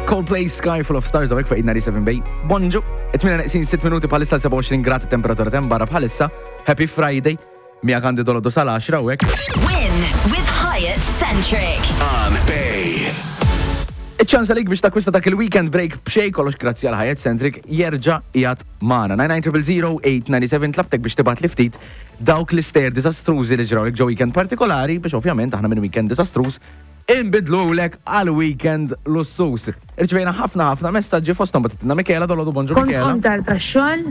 Coldplay Sky Full of Stars għawek fuq 97 Bay. Bonġu, 8 neqsin 6 minuti bħalissa 27 grad temperatura tem barra bħalissa. Happy Friday. Mija għandi dolodu sal-10 hawnhekk. Win with Hyatt Centric. On Bay. Iċ-ċans għalik biex takwista dak il-weekend break b'xejn kollox grazzi għal Hyatt Centric jerġa' qiegħed magħna. 99000897 tlabtek biex tibgħat li ftit dawk l-istejjer diżastrużi li ġrawlek ġo weekend partikolari biex ovvjament aħna minn weekend diżastruż inbidlulek għal weekend lussuż. Irċivejna ħafna ħafna messaġġi fosthom bagħtitilna Michela dolodu bonġu Kont Michela. qomt tard għax-xogħol,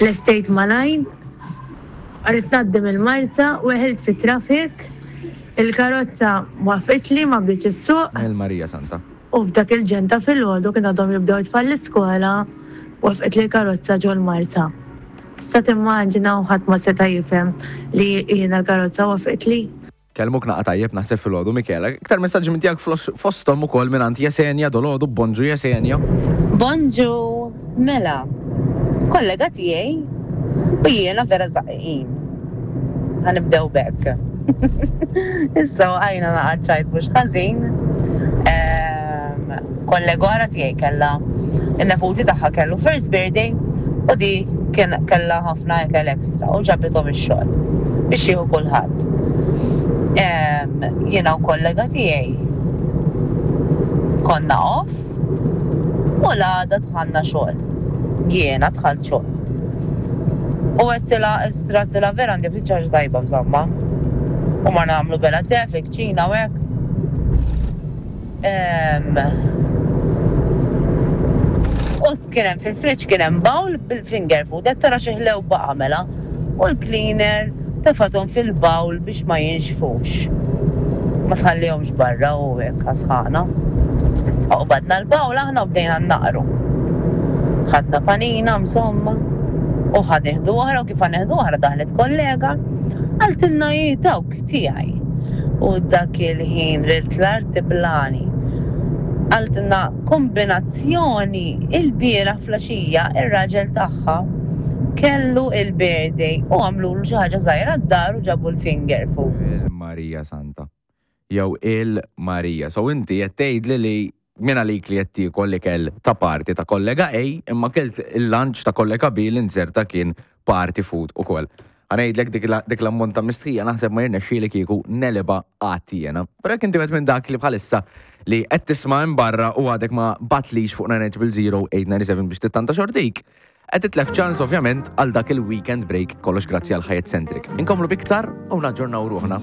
lestejt malajr, ridt ngħaddi mill-Marsa, weħilt fit-traffic, il-karozza waqfitli ma bdietx issuq. Il Marija Santa. U f'dak il-ġenn ta' filgħodu kien għadhom jibdew it-tfal l-iskola, waqfitli l-karozza ġol-Marsa. Tista' timmaġina u ħadd ma seta' jifhem li jiena l-karozza waqfitli. Kellmuk naqa' tajjeb naħseb filgħodu Michela. Iktar messaġġi minn tiegħek fosthom ukoll mingħand Yesenia dolgħodu bonġu Yesenia. Bonġu, mela, kollega tiegħi u jiena vera żaqqiqin. Ħa nibdew b'hekk. Issa waqajna naqa' ċajt mhux ħażin. Ehm, kollega oħra tiegħi kellha in-neputi tagħha kellu first birthday u di kien kellha ħafna ikel extra u ġabithom ix-xogħol biex jieħu kulħadd. Jiena u kollega tiegħi konna off u l-għada dħalna xogħol. Jiena dħalt xogħol. U għedtilha istra għedtilha vera għandi ftit xi ħaġa tajba insomma. U morna nagħmlu bela te fil-kċina u hekk. U kien hemm fil-fridge kien hemm bowl bil-finger food, qed tara xi ħlew baqa' mela. U l-cleaner tefathom fil-bowl biex ma jinxfux. Ma tħallihomx barra u hekk għas-sħana. U qbadna l-bowl aħna u bdejna nnaqru. Ħadna panina insomma u ħa nieħdu oħra u kif ħa nieħdu oħra daħlet kollega qaltilna hi dawk tiegħi. U dak il-ħin ridt l-art tiblagħni. Qaltilna kombinazzjoni ilbieraħ flaxija ir-raġel tagħha kellu il-birthday u għamlulu xi ħaġa żgħira d-dar u ġabu l-finger food. Il-Marija Santa. Jew il-Marija. So inti qed tgħidli li min għalik li qed tiekol l-ikel ta' party ta' kollega A imma kilt il-lunch ta' kollega B li nzerta kien party food ukoll. Ħa ngħidlek dik l-ammont ta' mistħija naħseb ma jirnexxieli kieku negħlibha qatt jiena. Però jekk inti wieħed minn dak li bħalissa li qed tisma' minn barra u għadek ma batlix fuq 9900897 biex tittanta xortik, qed titlef ċans ovvjament għal dak il-weekend break kollox grazzi għal Hyatt Centric. Inkomplu biktar u naġġornaw ruħna.